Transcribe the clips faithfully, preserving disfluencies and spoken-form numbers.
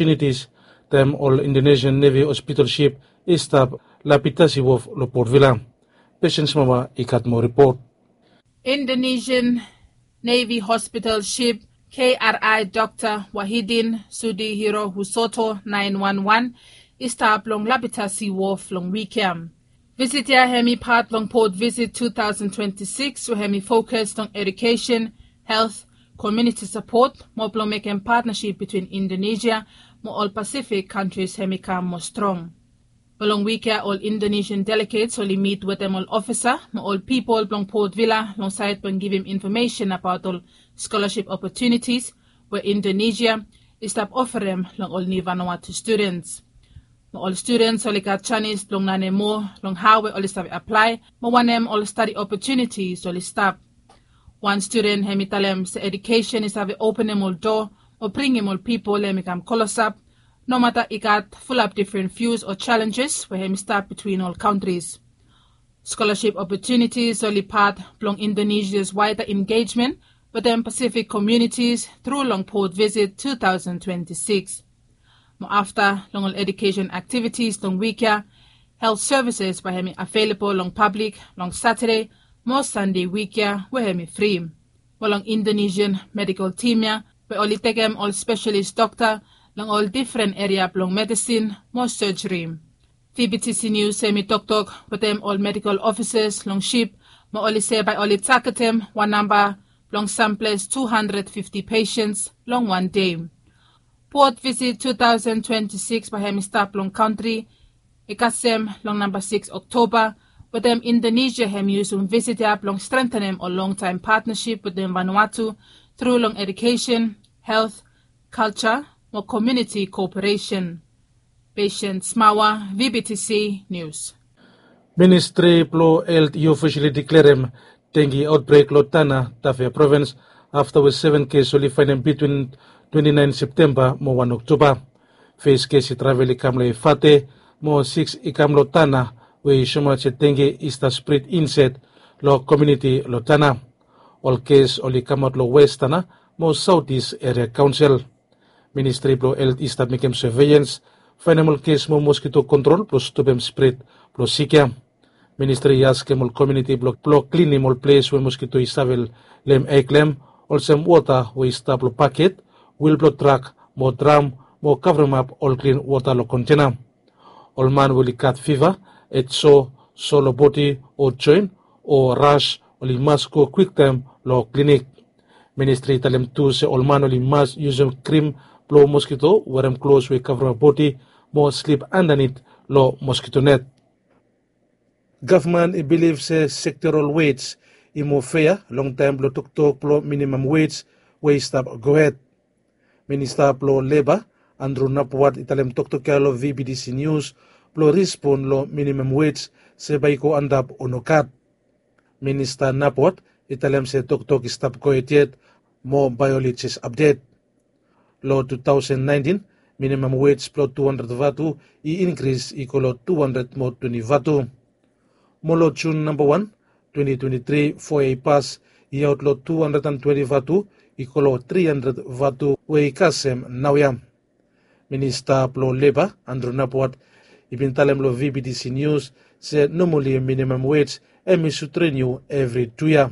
opportunities taem ol Indonesian Navy hospital ship i stap Lapitasi Wharf lo Port Vila. Patience Mama i gat moa ripot. Indonesian Navy hospital ship K R I Doctor Wahidin Sudihiro Husoto nine one one i stap long Lapitasi Wharf long wik ya. Visit ya hemi pat blong Port Visit two thousand twenty-six we hemi fokus long education, health, community support mo blong mekem partnership between Indonesia mo ol Pacific countries hemi kam moa strong. Mo long wik ya ol Indonesian delegates oli mit wetem ol ofisa mo ol pipol blong Port Vila long saed blong givim information abaot ol scholarship opportunities we Indonesia i stap ofarem long ol Ni Vanuatu students. Mo ol students oli gat janis blong lanem moa long hao we oli save aplae mo wanem ol stadi opportunities oli stap. Wan studen hemi talem se education i save openem ol doa mo bringim ol pipol hemi kam klosap, nomata i gat fulap difren views o challenges we hemi stap between ol countries. Scholarship opportunities oli pat blong Indonesia's wider engagement wetem Pacific communities tru long Port Visit two thousand twenty-six. Mo afta long ol education activities long wik ya, health services bae hemi available long public long Saturday mo Sunday wik ya we hemi fri. Mo long Indonesian medical team ya we oli tekem ol specialist dokta long ol difren eria blong medisin mo surgery. V B T C News hemi toktok wetem ol medical officers long ship mo oli se bae oli tagetem wan namba blong samples two hundred fifty patients long wan dei. Port Visit two thousand twenty-six bae hemi stap long kantri i kasem long namba six Oktoba, wetem Indonesia hemi yusum visit ya blong strengthenem ol longtaem partnership wetem Vanuatu tru long education, health, culture mo community cooperation. Patience Mawa, V B T C News. Ministri blo Helt i ofisali deklarem dengue outbreak lo Tanna, Tafea Provins, afta we seven kes oli faenem bitwin twenti naen Septemba mo wan Oktoba. Fes kes i travel i kam lo Efate, mo sikis i kam lo Tanna, we i soemaot se dengue i stap spred insaed lo komuniti lo Tanna. Ol kes oli kamaot lo West Tanna mo Saotis Eria Kaonsel. Ministri blo Helt i stap mekem surveillance, faenem ol kes mo moskito kontrol blo stopem spred blo sik ya. Ministri i askem ol komuniti blo, blo klinim ol ples we moskito i save leem eg lo hem, olsem wota we i stap lo baket, wil blo trak, mo dram, mo kavremap ol klin wota lo kontena. Ol man we oli gat fiva, edso, so lo bodi o joen, o ras, oli mas go kwiktaem lo klinik. Ministri i talem tu se ol man oli mas yusum krim blo moskito, werem klos we i kavremap bodi, mo slip andanit lo moskito net. Gavman i bilif se sektoral wej i moa fea long taem blo toktok blo minimam wej we i stap gohed. Minista blo Leba, Andrew Napuat, i talem toktok ya lo V B T C News blo respon lo minimam wej se bae i go antap o nogat. Minista Napuat i talem se toktok i stap gohed yet, mo bae oli jes apdet. Lo two thousand nineteen, minimam wej blo two hundred vatu i inkris i go lo two hundred mo twenti vatu. Mo lo Jun namba wan, twenti twenti tri, fo yia i pas, i aot lo two hundred and twenti vatu i go lo three hundred vatu we i kasem naoia. Minista blo Leba, Andrew Napuat, i bin talem lo V B T C News se nomali minimam wej hemi sud riniu evri tu yia.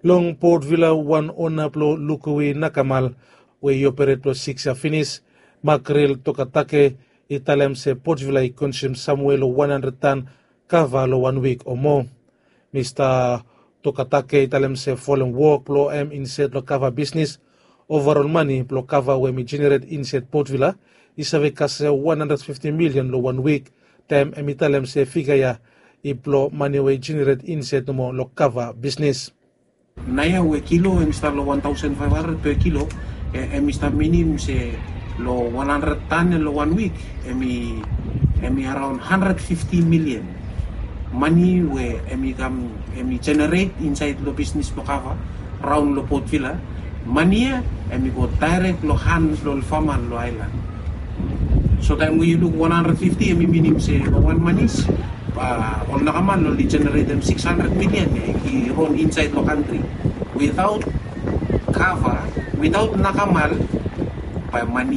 Long Port Vila, wan ona blo Lukuwi Nakamal we i operet lo sikis yia finis, Makril Tokatake, i talem se Port Vila i konsum samwe lo wan handred tan kava lo wan wik o moa. Mista Tokatake i talem se folem wok blo hem insaed lo kava bisnis, ovarol mane blo kava we hemi jeneret insaed Port Vila i save kasem wan handred fifti milian lo wan wik, taem hemi talem se figa ya i blo mane we i jeneret insaed nomo lo kava bisnis. Naoia we kilo hemi stap lo wan taosen faef handred per kilo, e, hemi stap minim se lo wan handred tan lo wan wik, hemi, hemi araon handred fifti milian mane we hemi kam, hemi jeneret insaed lo bisnis blo kava raon lo Port Vila. Mane ya hemi go daerek lo han blo ol fama lo aelan. So taem we yu luk wan handred fifti, hemi minim se lo wan manis, a, ol nakamal oli jeneretem sikis handred milian ya i ron insaed lo kantri. Witaot kava, witaot nakamal, Bae mane